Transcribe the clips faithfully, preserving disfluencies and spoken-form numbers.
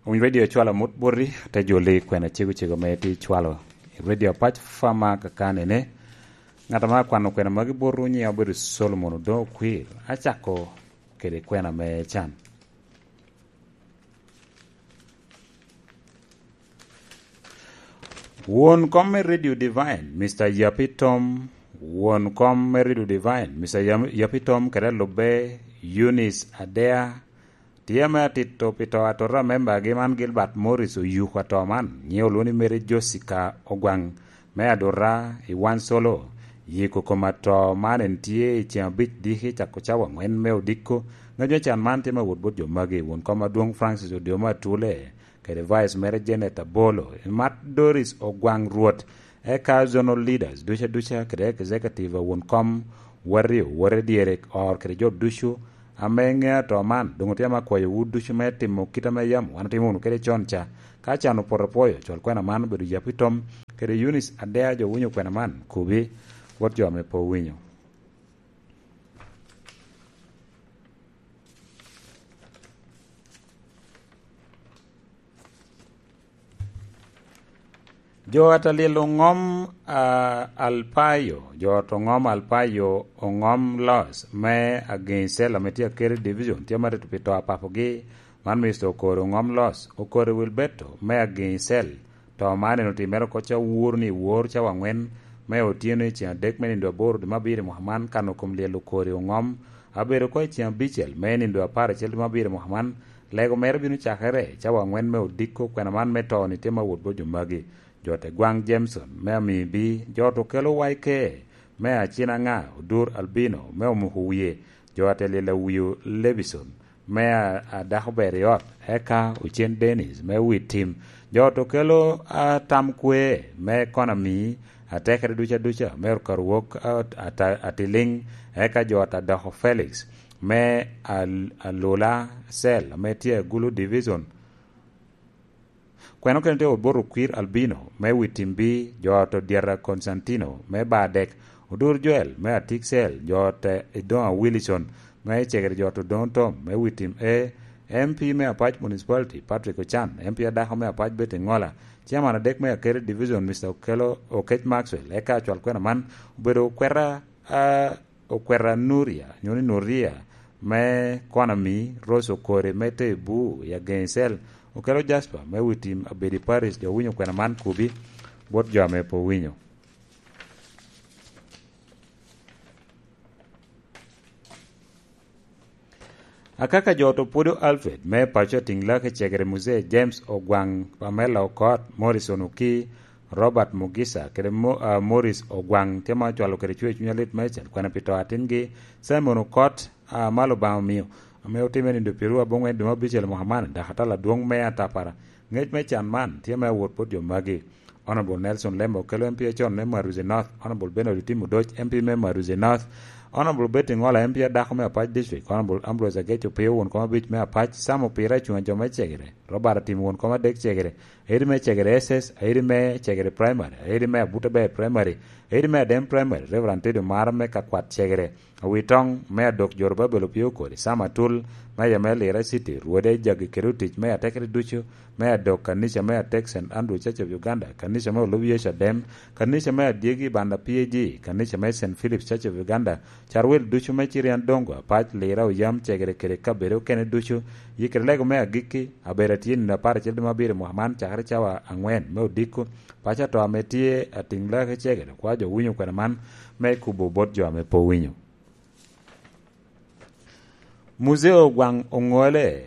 Winy Radio cwalo amut boti, te joli kwena cego cego ame tye cwalo i Radio Apac Fama kakanene. Ngat ame akwano kwena magi botwu nyiŋe obedo Solomon Odoŋo Okwir. Acako kede kwena me can. Won kom me Radio Divine, Mister Yapitom. Won kom me Radio Divine, Mister Yam-, Yapitom, kede alubbe, Eunice Adea, tye ame atito pi to atota a membagi man, Gilbert Morris, oyuko ato man, nyiŋe olwoŋo ni Mary Jessica Ogwaŋ, me aduta i Wan Solo. Yiko kom ato man en tye i ceŋ abic diki cako cawa angwen me odiko. Ŋec me can man tye me wot bot jo magi: won kom adwoŋ Francis Odyoma Atule, kede Vice mere Janet Abolo, Mat Doris Ogwaŋ Rwot, eka zonal leaders duca duca, kede executive a won kom, waryo, wore dyere, or kede jo ducu ame ŋeo ato man. Doŋ otye ame akwayowu ducu me timo kit ame yam wan otimo wunu kede con ca. Ka can opoto pwoyo, cwal kwena man obedo Yapitom, kede Eunice Adea. Jo winyo kwena man, kubi bot jo ame pe owinyo. Jo ata lyel oŋom, a, Alpayo, jo ata oŋom Alpayo oŋom Los me Ageŋ Cell ame tye Akeri Division, tye marito pi to a papogi. Man Mister Okori oŋom Los, Okori Wilberto me Ageŋ Cell. To man en otimere oko ca wur ni wor cawa angwen me otyeno i ceŋ adek me nindo aboro dwe me abiro i mwaka man, kan okom lyel Okori oŋom. Abedo oko i ceŋ abicel me nindo apar acel dwe me abiro i mwaka man. Lego mere bino cakere cawa angwen me odiko. Kwena man me to-ni tye ma wot bot jo magi: jo te Gwaŋ Jameson me Amibi, jo to kelo Y K me Acinaŋa, Odur Albino me Omuko Wie, jo ate lyel Awio Levison me a, a dako ber i ot, eka Ocen Dennis me Wi Tim. Jo to kelo, a, Tam Kwe me Konami, atekere duca duca me Okaru Wok, a, ata-, Atiliŋ, eka jo ata doko Felix me Al-, Alula Cell ame tye Agulu Division. Kwena okene tye Oboto Kwir Albino me Wi Tim B, jo ata Odyata Constantino me Badek, Odur Joel me Atik Cell, jo ata Idoŋa Wilson me Cegere, jo ata Odoŋo Tom me Wi Tim A, M P me Apac Municipality Patrick Ochan, M P adako me Apac Betty Ŋola, Chairman adek me Akere Division Mister Okelo Okec Maxwell. Eka acwal kwena man obedo okweta, a, okweta Nuria, nyo ni Nuria, me Konami, Rose Okori me Tebu i Ageŋ Cell, Okelo Jasper me Wi Tim Abedi Paris. Jo winyo kwena man kubi bot jo ame pe owinyo. Akaka jo to Pwodo Alfred me paco Atiŋ Lak i Cegere, Muzee James Ogwaŋ, Pamela Okot, Morrison Oki, Robert Mugisa, kede Mo-, a, Morris Ogwaŋ, tye ma ocwalo kede cwer cuny alit meicel kwena pi to atingi Simon Okot, a, ma Lubanga omio, ame otime nindo pyeraryo aboŋwen dwe me abicel mwaka man, dok atala adwoŋ me atapara. Ŋec me can man tye me awot bot jo magi: Honorable Nelson Lembe Okello, M P acon me Maruzi North, Honorable Bernard Otim Odoc, M P me Maruzi North, Honorable Betty Ŋola, M P adako me Apac District, Honorable Ambrose Ageco Opio, won kom abic me Apac, Sam Opira, cuŋ a jo me Cegere, Robert Atim, won kom adek Cegere, Aidi me Cegere S S, Aidi me Cegere Primary, Aidi me Abuta Ber Primary, Aidi me Adem Primary, Reverend Teddy Omara me Kakwat Cegere, Awitoŋ me Adok Jorobabel Opio Okori, Sam Atul me Yamel Lira City, Rwode Jagi kede otic me atekere ducu me Adok, kanica me Atek Saint Andrew Church of Uganda, kanica me Olub Yecu Adem, kanica me Adyegi Banda P A G, kanica me Saint Philip's Church of Uganda, carwel ducu me Cirian Dongo, Apac, Lira, Oyam, Cegere kede kabedo okene ducu. Yikere lego me agikki, abedo atye nino apar acel dwe me abiro mwaka man, cakere cawa angwen me odiko. Paco ato ame tye Atiŋ Lak i Cegere, kwa jo winyo kwena man me kubo bot jo ame pe owinyo. Muzee Ogwaŋ Oŋole,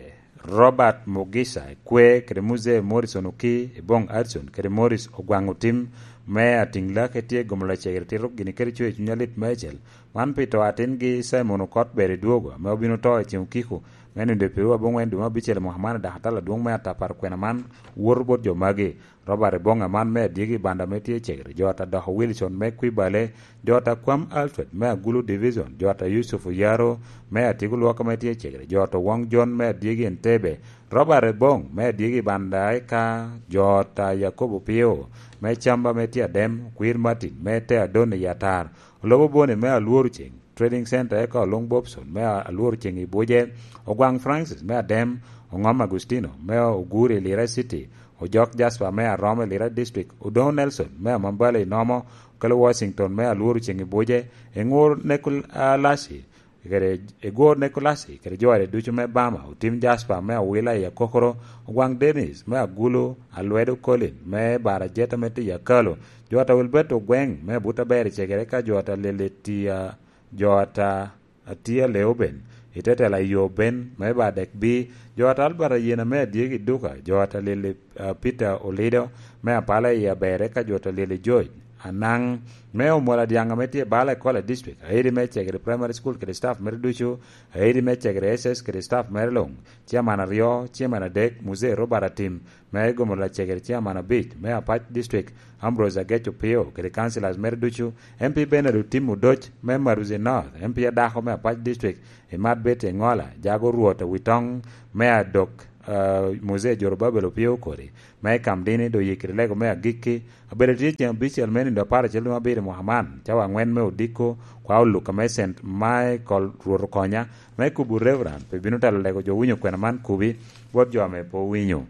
Robert Mugisa Ekwe, kede Muzee Morrison Oki, Ebong Adson, kede Morris Ogwaŋ Otim, me Atiŋ Lak, etye gomo lacegere tito gini kede cwer cuny alit meicel. Man pi to atingi Simon Okot Ber Idwogo, ame obino to i ceŋ okiko me nindo pyeraryo aboŋwen dwe me abicel mwaka man, dok atala adwoŋ me atapar kwena man woto bot jo magi: Robert Ebong Aman me Adyegi Banda ame tye Cegere, jo ata Doko Wilson me Kwibale, jo ata Kwam Alfred me Agulu Division, jo ata Yusuf Oyaro me Atyeko Lwok ame tye Cegere, jo ata Wong John me Adyegi Entebbe, Robert Ebong me Adyegi Banda, eka jo ata Yakobo Pio me Camba ame tye Adem, Kwir Martin me Te Adon i Atar, Olobo Boni me Alworo Ceng, Trading Center, eka Olung Bobson me Alwor Ceŋ i Buje, Ogwaŋ Francis me Adem, Oŋom Agustino me Oguri i Lira City, Ojok Jasper me Arom i Lira District, Odoŋo Nelson me Amambala i Nomo, Okelo Washington me Alwor Ceŋ i Buje, Eŋur Nikolasi kede Egwor Nikolasi kede jore ducu me Bama, Otim Jasper me Awila i Akokoro, Ogwaŋ Dennis me Agulu, Alwedo Colin me Barajeta me Tiya Kalo, Jota Wilberto Ogweŋ me Abutaber i Cegere, ka Jota Lili Tiya, Jota Atiya Leuben, i tetela i yo Ben me Badek Bi, Jota Albert Ayena me Adyegi Duka, Jota Lili, ah, Peter Olido me Apala i Abere, ka Jota Lili George Anaŋ me Omola Dyaŋ ame tye i Bala i Kola District, Aidi me Cegere Primary School kede staff mere ducu, Aidi me Cegere S S kede staff mere luŋ, Chairman aryo, Chairman adek, Muzee Robert Atim me Gomola Cegere, Chairman abic me Apac District, Ambrose Agec Opio kede councillors mere ducu, M P Bernard Otim Odoc me Maruzi North, M P adako me Apac District, Imat Betty Engola, Jago Rwot Awitoŋ me Adok, ah, Muzee Jorobabel Opio Okori, me Kamdini, Doyikiri Lego me Agikki, abedo tye ceŋ abicel me nindo apar acel luŋ abiro i mwaka man, cawa aŋwen me odiko, kwa oluka me Saint Michael Rwot Okonya, me kubo Reverend, pe bino telo lego jo winyo kwena man kubi, bot jo ame pe owinyo.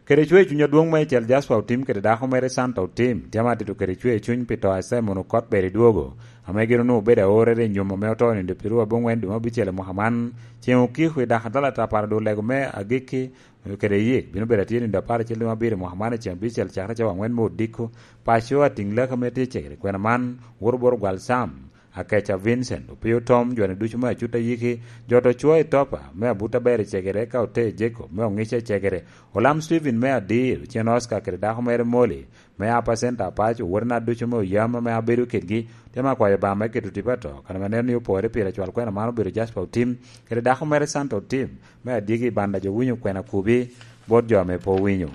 Kede cwer cuny adwoŋ meicel Jasper Otim kede dako mere Santa Otim, tye ame atito kede cwer cuny pi to a Simon Okot Beri Dwogo, ame gin onwoŋo obedo aorere i nyom ame oto nindo pyeraryo aboŋwen dwe me abicel i mwaka man, ceŋ okiko i dako atala tapara dul lego me Agikki, kede yik bino bedo atye nindo apar acel dwe me abiro i mwaka man i ceŋ abicel cakere cawa aŋwen me odiko, paco atiŋ laki ame tye cegere kwena man, woro bot ogwal Sam, Akeca Vincent, Opio Tom, joni ducu me Acut Ayiki, Jot Ocwo i Topa, me Abut Aber i Cegere, ka Ote Jacob, me Oŋica i Cegere, Olam Steven me Adir, Ocen Oscar kede dako mere Molly, me Apa Center Apac, owotena ducu me Oyam ame abedo kedgi, tye me akwayo Obaŋa me keto tipo ato, kan ame neno ni opore pire cwal kwena man obedo Jasper Otim, kede dako mere Santa Otim, me Adyegi i Banda jo winyo kwena kubi, bot jo ame pe owinyo.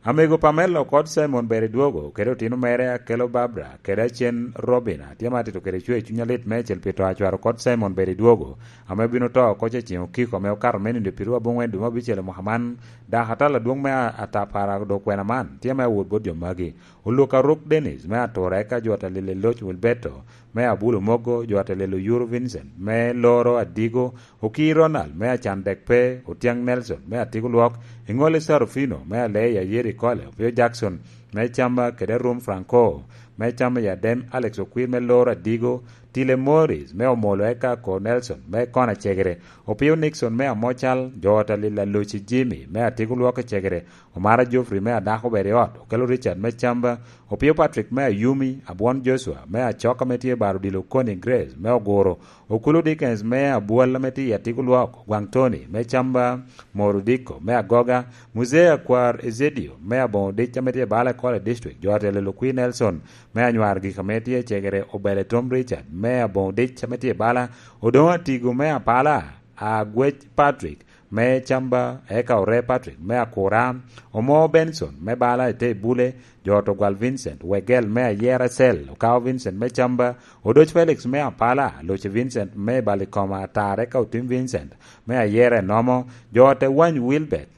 Amego Pamela Okot Simon Beri Dwogo, kede otino mere Akelo Barbara, kede Acen Robina, tye ma atito kede cwer cuny alit meicel pi to a cwar Okot Simon Beri Dwogo, ame obino to oko ce ceŋ okiko ame okato me nindo pyeraryo aboŋwen dwe me abicel i mwaka man, dako atal adwoŋ me a-, atapara dok kwena man, tye me awot bot jo magi. Oluk Aruk Dennis me Atura, eka Jota Lili Loc Wilberto me Abulo Mogo, Jota Lili Oyuro Vincent me Loro Adigo, Okii Ronald me Acan Dek Pe, Otiaŋ Nelson me Atiko Lwok, Eŋolle Sarufino me Aleya Yeri Kole, Opio Jackson me Camba kede Arum Franco me Camba i Adem, Alex Okwir me Loro Adigo, Tile Morris me Omolo, eka Ko Nelson me Kona Cegere, Opio Nixon me Amocal, Jota Lila Luci Jimmy me Atiko Lwok i Cegere, Omara Geoffrey me Adako Ber i Ot, Okelo Richard me Camba, Opio Patrick me Ayumi, Abwon Joshua me Acok ame tye i Baro Odilo, Connie Grace me Oguro, Okulu Dickens me Abwal ame tye i Atiko Lwok, Gwaŋ Tony me Camba, Moro Diko me Agoga, Muzee Akwar Ezedio me Aboŋo Dic ame tye i Bala College District, jo atelo Lukwir Nelson me Anywar Gik ame tye i Cegere, Obele Tom Richard me Aboŋo Dic ame tye i Bala, Odoŋo Atigo me Apala, Agwec Patrick me Camba, eka Ore Patrick me Akura, Omo Benson me Bala i te Bule, Jot Ogwal Vincent, Wegel me Ayera Cell, Okao Vincent me Camba, Odoc Felix me Apala, Luci Vincent me Balikoma Atar, eka Otim Vincent me Ayera Enomo, Jot Ewany Wilbert,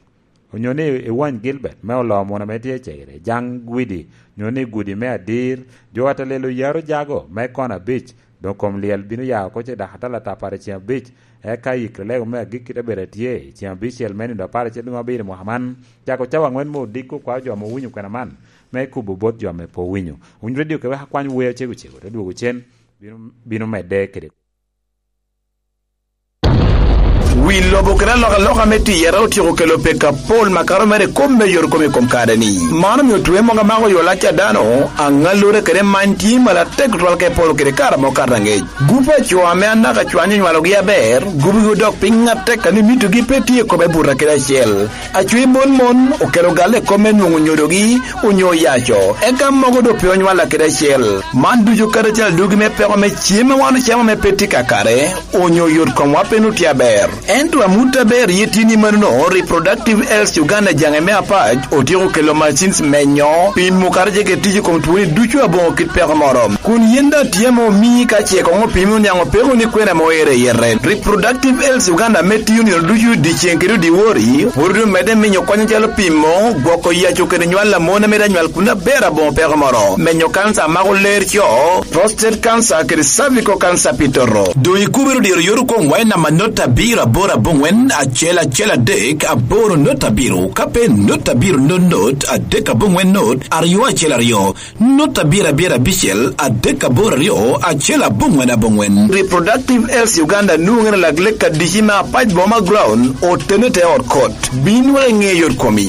onyo ni Ewany Gilbert me Oloo Muna ame tye i Cegere, Jaŋ Gwidi, onyo ni Gudi me Adir, Jot Alelo Yaro Jago me Kona Beach, Doŋ kom lyel bino ya oko ce dako atala atapar i ceŋ abic, eka yikre lego me agikki te bedo atye i ceŋ abicel me nino apar acel luŋ abiro i mwaka man, cako cawa aŋwen me odiko kwao jo ame owinyo kwena man, me kubo bot jo ame pe owinyo. Winy redio ke wek akwany wer acego cego, te dwogo cen, bino, bino medde kede. Wi lobo kede alokaloka me tiyere otyeko kelo pek apol makato mere i kop me yot kom i kom kare-ni. Man omio twe mogo amako yo lac a dano, aŋallure kede many tye malatek tutwal ka epolo kede kare ame okato aŋec. Gup a co ame anaka cwany onywalogi aber, gubogi odok piny atek a ni mitogi pe tye i kome buta kede acel. Acwe mon mon okelo galle i kop me nwoŋo nyodogi onyo yaco, eka mogo doŋ pe onywalla kede acel. Man ducu karacel adwogi me peko me cem a wan ocamo ame pe tye kakare, onyo yot komwa pe nut tye aber. Ento amut aber ye tye ni manono, Reproductive Health Uganda jaŋe me apac otyeko kelo machines menyo pimo kara jege tic i kom twoni ducu aboŋo kit peko moro. Kun yen daŋ tye ame omii ka ce koŋ opimi oniaŋ opeko ni kwena mo ere yete. Reproductive Health Uganda ame tiyo nino ducu dyeceŋ kede dyewor, pwod omedde minyo kony acalo pimo, gwoko yaco kede nywal a mon ame daŋ nywal kun aber aboŋo peko moro, menyo kanca a mako ler co, prostate cancer kede cervical cancer pi toto. Doŋ ikubere dyero yot okoŋ wac namba not abiro aboro aboŋwen acel acel adek aboro not abiro, ka pe not abiro not not adek aboŋwen not aryo acel aryo, not abiro abiro abicel adek aboro aryo acel aboŋwen aboŋwen. Reproductive Health Uganda nwoŋere lak lek adici me apac boma ground otene te ot kot. Bin wek iŋe yot komi.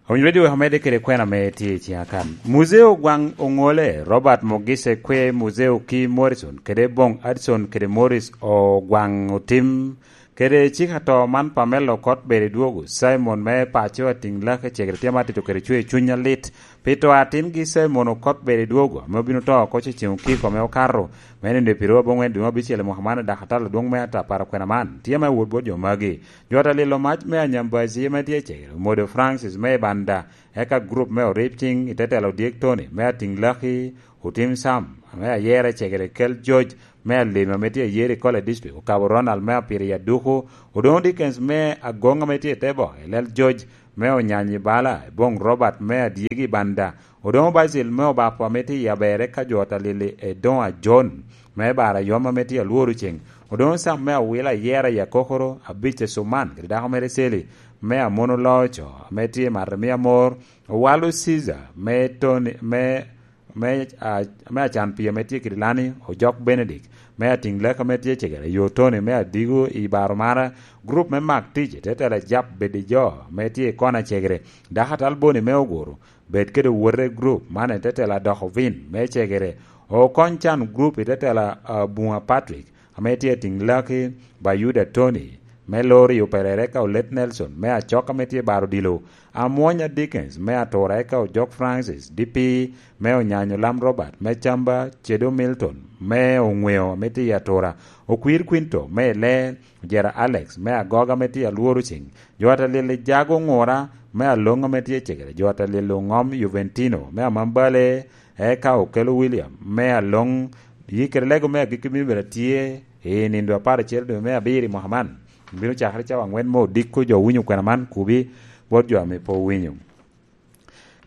Owinyo redio wek omedde kede kwena ame tye i ciŋa kan. Muzeo Gwaŋ Oŋole, Robert Mogise Kwe, Muzeo ki Morrison, kede Boŋ Addison kede Morris Ogwaŋ Otim, kede cik ato man Pamela Okot Bede Dwogo, Simon me paco Atiŋ Lake Cegere tye ma atito kede cwer cuny alit. Pi to atingi Simon Okot Bede Dwogo, ame obino to oko ceŋ okiko ame okato, me nino i piro aboŋwen dwe me abicel i mwaka man, dok atalo dwoŋ me atapara kwena man, tye ma wot bot jo magi. Jo ata lilo mac me Anyambazi ame tye i Cegere, Omodo Francis me Ibanda, eka gurup me Oripcing i te telo Odyek Tony me Atiŋ Laki, Otim Sam ame Ayera i Cegere, Kel George me Alima ame tye i Yerikole District, Okabo Ronald me Apiri i Aduku, Odoŋo Dickens me Agoŋ ame tye i te boke, Lel George me Onyanyi Bala, Boŋ Robert me Adyegi Ibanda, Odoŋo Basil me Obapo ame tye i Aber, eka jo ata lili Edoŋo Ajon me Bara Yom ame tye alworo ceŋ, Odoŋo Sam me Awila Ayera i Akokoro, Abic Esuman kede dako mere Celi me Amono Loco ame tye i Matamia Mor, Owalo Caesar me Tony me, me, a, me Acan Pii ame tye kede Lani, Ojok Benedict me Atiŋ Lek ame tye Cegere, Yo Tony me Adigo i Baro Mara, gurup me Mak Tic i te tela Jap Bedi Jo ame tye i Kona Cegere, dako atal Boni me Oguru, bed kede owote gurup man i te tela Doko Vin me Cegere, Okony Can gurup i te tela, a, Buŋa Patrick ame tye Atiŋ Laki, Bayuda Tony me Lorio Perere, ka Olet Nelson me Acok ame tye Baro Dilo, Amwonya Dickens me Atura, eka Ojok Francis D P me Onyanyo, Lam Robert me Camba, Cedo Milton me Oŋweo ame tye i Atura, Okwir Quinto me Ile, Ojera Alex me Agoga ame tye alworo ceŋ, jo ata lili Jago Ŋura me Aloŋ ame tye Cegere, jo ata lili Oŋom Juventino me Amambale, eka Okelo William me Aloŋ. Yi kede lego me agikki bino bedo atye i nindo apar acel dwe me abiro i mwaka man. Bino cakere cawa aŋwen me odiko jo winyo kwena man, kubi bot jo ame pe owinyo.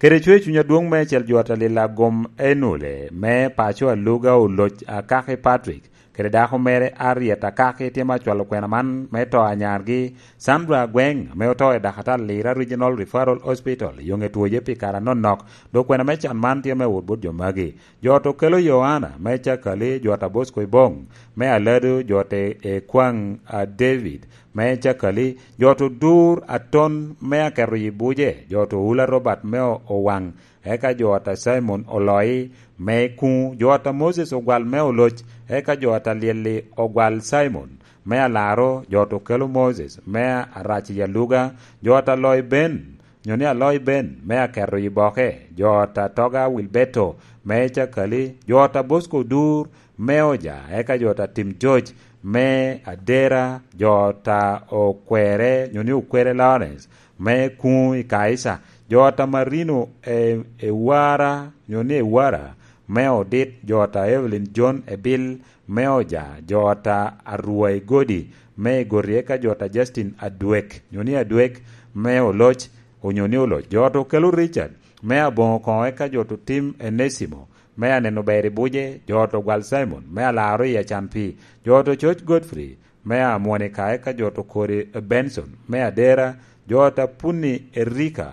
Kede cwer cuny adwoŋ meicel jo ata lila gom Enule me paco Aluga Oloc Akaki Patrick, kede dako mere Ariet Akaki tye ma cwalo kwena man me to anyargi, Sandra Agweng, ame oto i Dakatal Lira Regional Referral Hospital, yoŋe twoje pi kare anonok, dok kwena me can man tye me wot bot jo magi. Jo ot Okelo Yohana me Cakali, jo ot a Bosco Ibong me Alado, jo ot e, e kwaŋ a David me Cakali, jo ot Odur Aton me Aketo i Buje, jo ot Oula Robert me O-, Owaŋ, eka jo ot a Simon Oloi me Kuŋ, jo ot a Moses Ogwal me Oloc, eka jo ot a Lyelli Ogwal Simon me Alaro, jo ot Okelo Moses me Arac i Aluga, jo ot a Loi Ben, nyo ni Aloi Ben me Aketo i Boke, jo ot a Toga Wilberto me Cakali, jo ot a Bosco Odur me Oja, eka jo ot a Tim George me Adera, jo ot a Okwere, nyo ni Okwere Lawrence me Kuŋ i Kaisa, jo ot a Marino e, Ewara, nyo ni Ewara me Odit, jo ot a Evelyn John Ebil me Oja, jo ot a Arwai Godi me Igoti, eka jo ot a Justin Adwek, nyo ni Adwek me Oloc, onyo ni Oloc. Jo ot Okelo Richard me Aboŋo Koŋo, eka jo ot Otim Enesimo me Aneno Ber i Buje, jo ot Ogwal Simon me Alaro i Acan Pii, jo ot Ococ Godfrey me Amwonika, eka jo ot Okori Benson me Adera, jo ot Apuni Erika,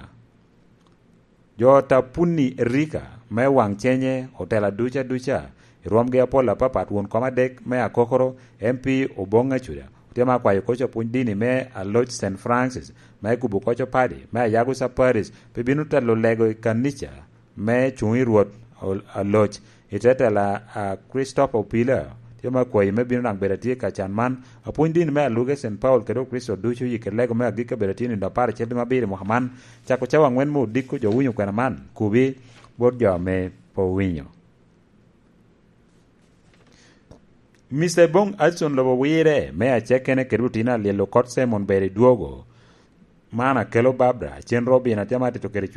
jo ot Apuni Erika me Waŋ Cenye, otela duca duca, i rwomgi apol apapat, won kom adek me Akokoro, M P Oboŋ Acuda, otye ma akwayo koc apwony dini me Aloc Saint Francis, me kubo koc opadi, me Ayago Saparis, pe bino telo lego i kanica, me cuŋ i Rwot ol-, Aloc, i te tela a Christopher Opila, tye ma akwayi me bino daŋ bedo atye ka can man. Apwony dini me Aluge Saint Paul kede Okricito ducu, yi kede lego me agikki abedo atye nindo apar acel dwe me abiro i mwaka man, cako cawa aŋwen me odiko jo winyo kwena man, kubi bot jo ame pe owinyo. Mister Bong Adson lobo wirre me acekene kede otino alyel okot Simon ber i dwogo. Man akelo Barbara cen Robin atye ma tito kede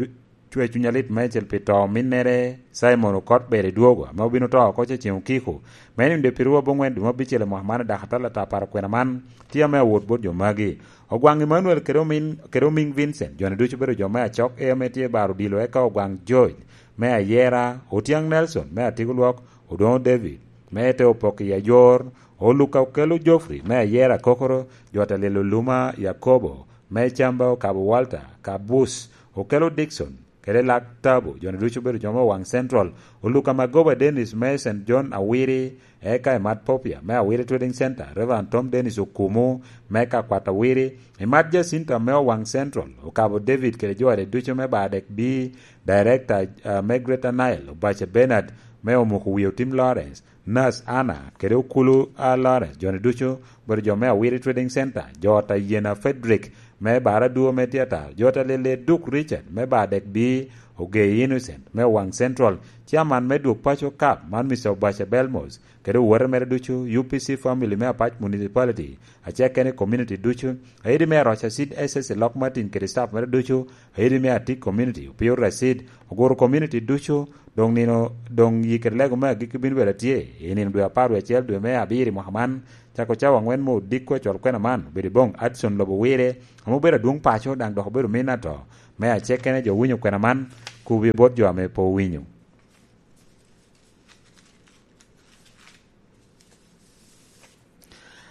cwe cuny alit meicel pi to ominnere Simon okot ber i dwogo ame obino to oko cecen okiko me nino de pirwu abongwen dwe me abicel i mwaka man dok atal ata paro kwena man tye ame awot bot jo magi. Ogwaŋ Emmanuel kede omin kede omiŋ Vincent joni ducu bedo jo me acok e ame tye baro odilo eka ogwaŋ George me ayera, Otiaŋ Nelson me atiko lwok, Odoŋo David me te opok i ayor, Oluka okelo Geoffrey me ayera Kokoro, jo te lilo Luma Yakobo me Camba okabo Walter Kabus okelo Dickson kede Lak Tabo, joni ducu obedo jo me Owaŋ Central, Oluka Magoba Dennis me Saint John Awiri, eka i Mat Popia me Awiri Trading Center, Reverend Tom Dennis Okumu me ka kwat Awiri, i Mat Jacinta me Owaŋ Central, okabo David kede jo ade ducu me Badek B, Director uh, me Greater Nile, Obace Bernard me Omuko Wie Otim Lawrence, Nurse Anna kede Okulu a Lawrence, joni ducu obedo jo me Awiri Trading Center, jo ta Yena Frederick me Baraduo me Theater, jo ta Lele Duk Richard me Badek B, Ogei Innocent me Owaŋ Central, Chairman me Dwok Paco Cup man Mister Obace Belmos, kede owote mere ducu, U P C family me Apac Municipality, aceke ni community ducu, aidi me Aroca Seed S S i Lok Martin kede staff mere ducu, aidi me Atik community, Opio Racid, Oguru community ducu, doŋ nino doŋ yikere lego me agikki bino bedo atye i nino dwe apar wie acel dwe me abiro i mwaka man, cako cawa angwen me odiko acwal kwena man obedo i boŋ Adson lobo wire, ame obedo adwoŋ paco daŋ dok obedo min ato me acekene jo winyo kwena man, kubi bot jo ame pe owinyo.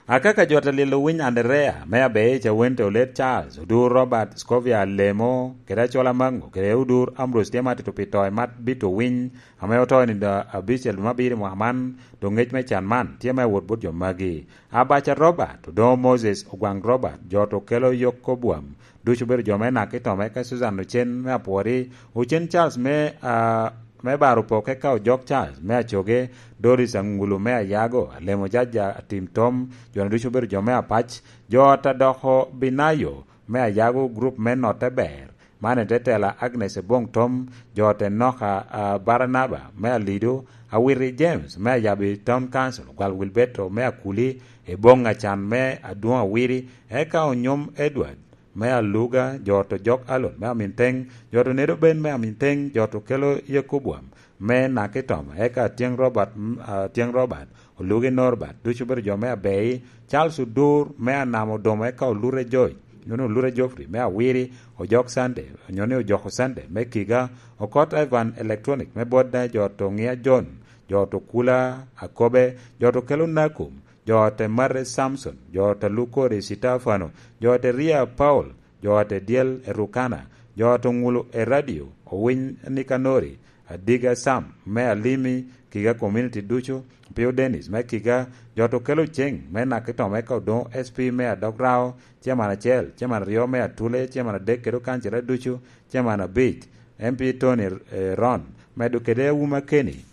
Akaka jo te lilo winy Anderea me Abeic Awente Olet Charles, Odur Robert Scovia Lemo, kede Acola Mango, kede Odur Ambrose tye ma tito pi to i mat bito winy ame oto i nino abicel me abiro i mwaka man, dok ngec me can man tye ma ewot bot jo magi. Abaca Robert, Odoŋo Moses, Ogwaŋ Robert, jo to kelo Yoko Bwam, ducu obedo jo me Nakitome, ka Susan Ocen me Apwori, Ocen Charles me, ah, me Baro Poke, ka Ojok Charles me Acoge, Doris Aŋulu me Ayago, Alemo Jaja Atim Tom, jo-ni ducu obedo jo me Apac, jo ta doko Binayo me Ayago, grup me Notte Ber, man en te tela Agnes Ebong Tom, jo te Noka, ah, Baranaba me Alido, Awiti James me Ayabi Town Council, Gwal Wilberto me Akuli, Ebong Acan me Adwoŋ Awiti, eka Onyom Edward, me Aluga, jo to Jok Alon me Aminteng, jo to Nedo Ben me Aminteng, jo to Kelo Yekobwam me Nakitoma, eka Atyeŋ Robert, mm, Atyeŋ Robert, Olugi Norbert, ducu obedo jo me Abei, Charles Odur me Anamo Odomo, eka Olure Joy, nyono Olure Geoffrey me Awiri, Ojok Sunday, nyono Ojoko Sunday me Kiga, Okot Ivan Electronic me Bodda, jo to Ŋia John, jo to Kula Akobe, jo to Kelo Nakum, jo te Mare Samson, jo te Lukori Sitefano, jo te Ria Paul, jo te Dyel Erukana, jo te Ŋulu Eradio, Owiny Nikanori, Adiga Sam me Alimi, Kiga Community ducu, Pio Dennis me Kiga, jo te Okelo Ceng me Nakitoma, eka Odoŋo S P me Adok Rao, Chairman acel, Chairman aryo me Atule, Chairman adek kede okancere ducu, Chairman abic, M P Tony, eh, Ron, medo kede Awuma Kenny.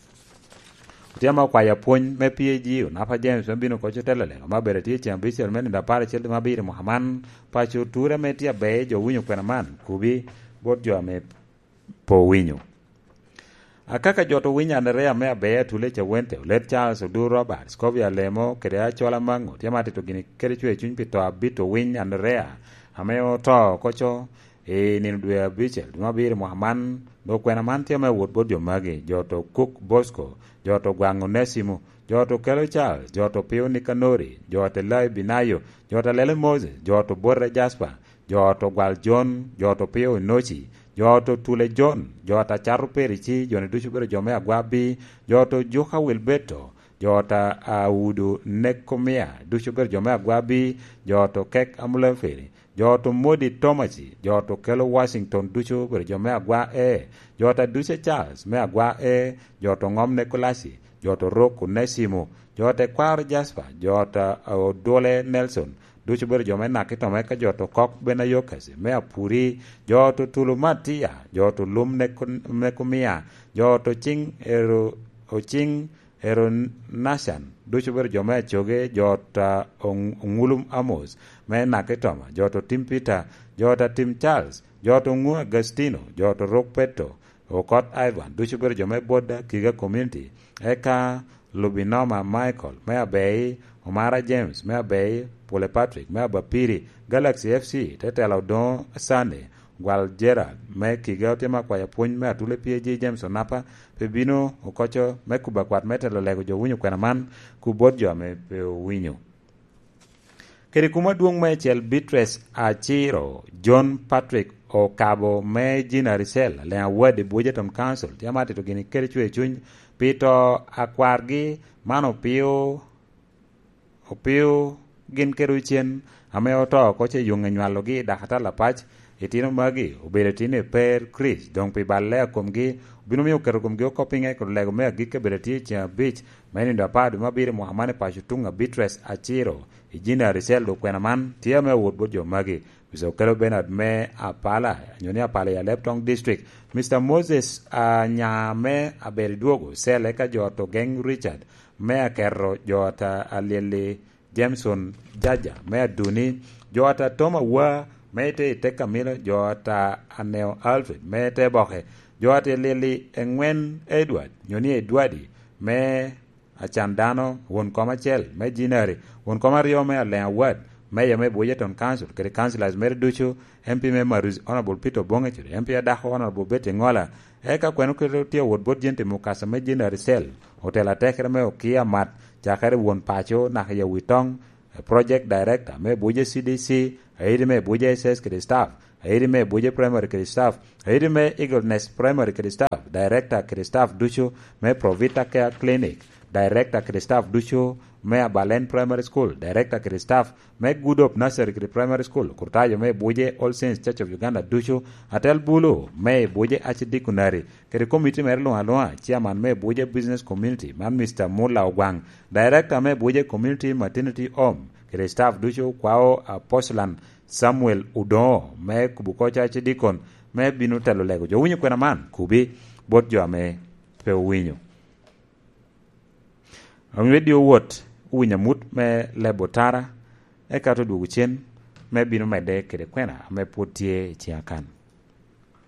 Otyeno okwayo apwony me P A G, Onapa James, me bino koc otelo lega ma bere tye ceng abicel me nino apar acel dwe me abiro i mwaka man. Paco oture ame tye aber, jo winyo kwena man, kubi bot jo ame pe owinyo. Akaka jo to winyo Anderea me aber, Atule Cawente, Olet Charles Odur Robert, Scovia Lemo, kede Acola Mango, tye ma tito gini kede cwer cuny pi to abito winy Anderea, ame oto koco i nino dwe abicel, dwe me abiro i mwaka man. Dok kwena man tye me wot bot jo magi, jo to Cook Bosco, jo to Gwaŋ Onesimo, jo to Kelo Charles, jo to Pio Nikanori, jo to Lai Binayo, jo to Lele Moses, jo to Bote Jasper, jo to Gwal Jon, jo to Pio Inoci, jo to Tule Jon, jo to Acato Perici, jo-ni ducu obedo jo me Agwabi, jo to Juka Wilberto, jo to Audu Nekomia, ducu obedo jo me Agwabi, jo to Kek Amulaferi, jo to Modi Tomaci, jo to Kelo Washington, ducu obedo jo me Agwa E, jo to Aduce Charles me Agwa E, jo to Ŋom Nekolasi, jo to Rok Onesimo, jo to Ekwaro Jasper, jo to Odwole Nelson, ducu obedo jo me Nakitoma, eka jo to Kok Benayokasi me Apuri, jo to Tulu Matia, jo to Lum Neko-, Nekomia, jo to Cing Ero-, Ocing Eronacan, ducu obedo jo me Acoge, jo ta Oŋ-, Oŋulum Amos me Nakitoma, jo to Tim Peter, jo ta Tim Charles, jo to Ŋu Agastino, jo to Rok Petto, Okot Ivan, ducu obedo jo me Bodda, Kiga Community, eka Lubinoma Michael me Abei, Omara James me Abei, Pule Patrick me Abapiri, Galaxy F C te telo Odoŋo Sani, Gwal Gerald me Kiga otimo akwayo pwony me Atule P A G James Onapa pe bino okoco me kubo akwat me telo lego jo winyo kwena man ku bot jo ame pe owinyo. Kede kuma adwoŋ meicel Beatrice Aciro, John Patrick Okabo me Gina Ricel, Leŋ Awadi Bujeton Council, tye amatito gini kede cwer cuny pi to akwargi man opio, opio gin kede ocen ame oto oko ce yuŋ enywalogi i dakatal apac. Itino magi obedo itino i per Kricito, doŋ pi balle a komgi obino miyo oketo komgi oko piŋe kede lego me agikki abedo tye i ceŋ abic me nindo apar dwe me abiro i mwaka man i paco tuŋ a Beatrice Aciro. I Gina Ricel dok kwena man tye ame awot bot jo magi. Mister Okello Bernard me Apala, nyo ni Apala i Alep Town District, Mister Moses Anya me Aberi Dwogo Cell, eka jo Togeng Richard me Aketo, jo ata Alyeli Jameson Jaja me Aduni, jo ata Tom Awa me ite i Tek Kamilo, jo ata Aneo Alfred me Te Boke, jo ata Alyeli Eŋwen Edward, nyo ni Edwardi me Acan Dano, won kom acel me Jinari, won kom aryo me Aleŋ Awad, meya me Bujeton Council, kede councillors mere ducu, M P me Maruzi Honourable Peter Obonge, kede M P adako Honourable Betty Ngola, eka kwene oketo tye awot bot Jenti Mukasa me Jinari Cell, otelo atekere me Okia Mat, cakere won paco naka i Awitoŋ, Project Director me Buje C D C, aidi me Buje S S kede staff, aidi me Buje Primary kede staff, aidi me Eagle Nest Primary kede staff, Director kede staff ducu me Provita Care Clinic, Director kede staff ducu me Abalen Primary School, Director kede staff me Good Hope Nursery kede Primary School, Kurtayo me Buje All Saints Church of Uganda ducu, atel bulu me Buje Archdeaconry, kede komiti mere luŋ aluŋa, Chairman me Abuja Business Community, man Mister Mulla Ogwaŋ, Director me Abuja Community Maternity Home, kede staff ducu, kwao Apostle Samuel Odoŋo me kubo koca ci dikon me bino telo lego jo winyo kwena man, kubi bot jo ame pe owinyo. Omio dye owot owinyo amut me lebo tara, eka te odwogo cen me bino medde kede kwena ame pwod tye i ciŋ akan.